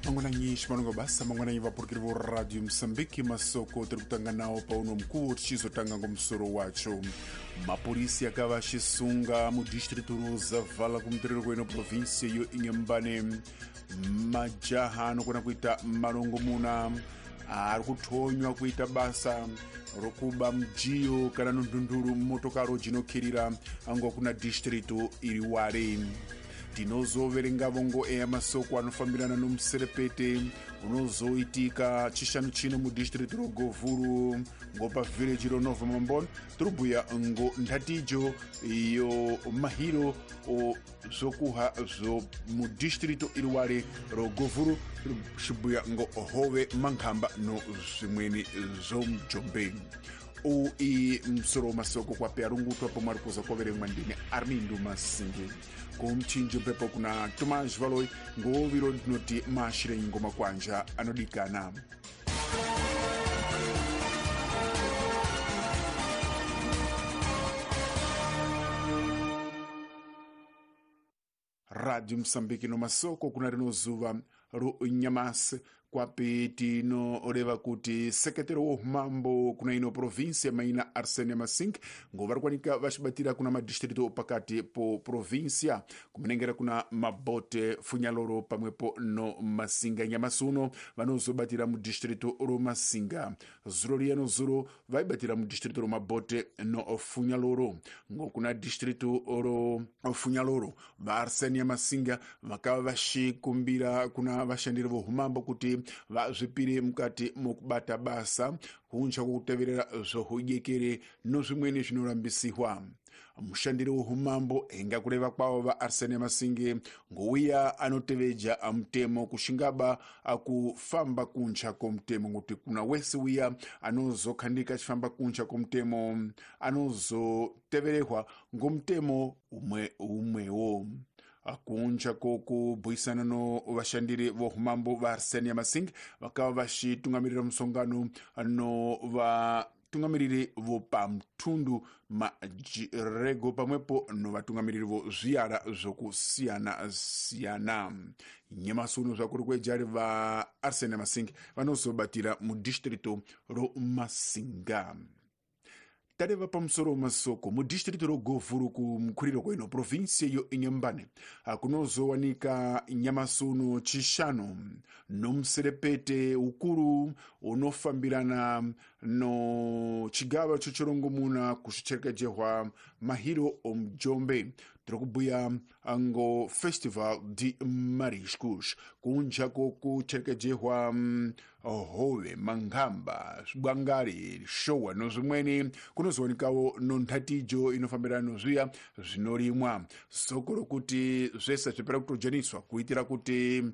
Mangwananyi ximalongo basa, mangwananyi vapurukiri vo Radio Mosambiki. Masoko tiri kutanga nawo pauno mukuwo tichizotanga ngomusoro wacho. Mapurisi akava achisunga mudistritu roZavala kumuterero kweno provinsia yo Inhambane majaha anokona kuita marongomuna ari kuthonywa kuita basa rokuba mujiyo kana nundunduru mumotokaro jinokirira ngo kuna distritu iri wari. Tinozoverengavo ngo eya masoko anofambirana nomuserepete unozoitika chishanu chino mudistritu ro Govuru ngo pa village ro Nova Mambon. Tiribhuya ngo nthatijo yo mahiro o zvokuha zvo mudistritu iriwari ro Govuru, xibhuya ngo hove, mankhamba no zvimweni zvo mujombe. Uwu i musoro masoko kwape arungutwa pomwe ari kuza koverengwa ndine Armindo Masingi. Kumchinjo mpepo kuna Tomás Valoi ngoviro ndinoti maashirenyi ngoma kwanja anodikana. Radio Mosambiki no masoko kuna rino zuva ro nyamasi kwapi tinoreva kuti sekretero wo umambo kuna ino provinsia maina Arsênio Masing ngo vari kuwanika vaxibatira kuna madistrito pakati po provinsia kumenengera kuna Mabote, Funyaloro pamwepo no Masinga. Nyamasi uno vanozobatira mudistrito ro Masinga. Zuro riya no zuro vaibatira mudistrito ro Mabote no Funyaloro. Ngo kuna distrito ro Funyaloro va Arsênio Masinga vakava vaxikumbira kuna vashandiri vo umambo kuti vazvipire mukati mokubata basa kunja kwokuteverera zvohudyekere no zvimweni zvinorambisihwa. Mushandiri woumambo enga kureva kwavo va Arsene Masinge ngouya anoteveja mutemo kuxingaba akufamba kunja komutemo, ngokuti kuna wese wiya anozokhandika achifamba kunja komutemo anozoteverehwa ngomutemo umwe umwewo. Kunja kokubhuisana no vashandiri voumambo va Arsenia Masing vakava vaxitungamirira musongano no vatungamiriri vo pamutundu majirego pamwepo no vatungamiriri vo zviyara zvokusiyana-siyana. Nyamasi uno zvakuri kwejari va Arsenia Masing vanozobatira mudistrito ro Masinga. Tareva pamusoro masoko mudistritu ro Govuru kumukhuriro kweno provinsia yo Inhambane kunozowanika nyamasi uno chishanu nomuserepete ukuru unofambirana no chigava chochirongomuna kuxicherekejehwa mahiro omujombe. Tiri kubhuya ngo Festival de Mariscos, kunja kokucherekejehwa hove, manghamba, zvibwangari, showa no zvimweni, kunozowanikawo no nthatijo inofambirana nozviya zvinorimwa. Soko rokuti zvese zvipera kutojaniswa kuitira kuti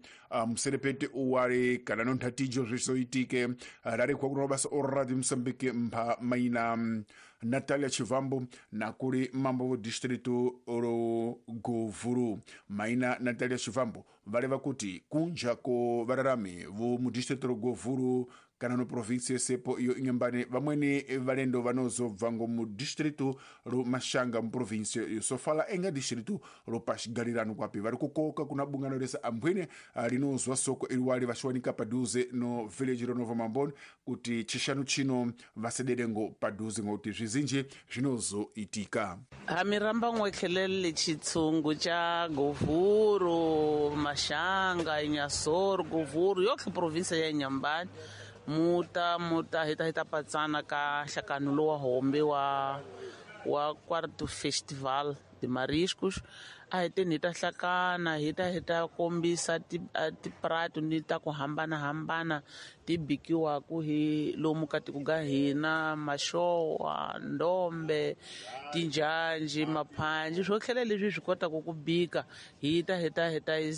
muserepete uware kana no nthatijo zvizoitike. Rarikwa kuno basa o Radio Mosambiki mpha maina Natalia Chivambo nakuri mambo wo distrito ro Govuru. Maina Natalia Chivambo vareva kuti kunja ko vararami vo mudistrito ro Govuru kana no provinsia sepo iyo Inhambane vamweni valendo vanozobva ngo mudistrito ro Mashanga muprovinsia yo Sofala enga distrito ro Pashigalirano kwapi vari kukoka kuna bungano rese ambwene rinozwa soko iriwali vaxiwanika padhuze no village ro Nova Mamboni kuti chishanu chino vasedere ngo padhuze ngokuti zvizinji zvinozoitika. Hamiramba n'wekhelele chitshungu cha Govuru, Mashanga, Inhasoro, Govuru yotlhe provinsia ya Inhambane muta muta hita hita patsana ka nhlakano lowa hombe wa quarto Festival de Mariscos. A hi teni hi ta hlakana hi ta hi ta kombisa tiprato ni ta ku hambanahambana ti bikiwaku hi lomu ka tiko ka hina, maxowa, ndombe, tinjhanji, maphanji, swo tlhela leswi hi swi kotaka ku bika hi ta hi ta hi ta.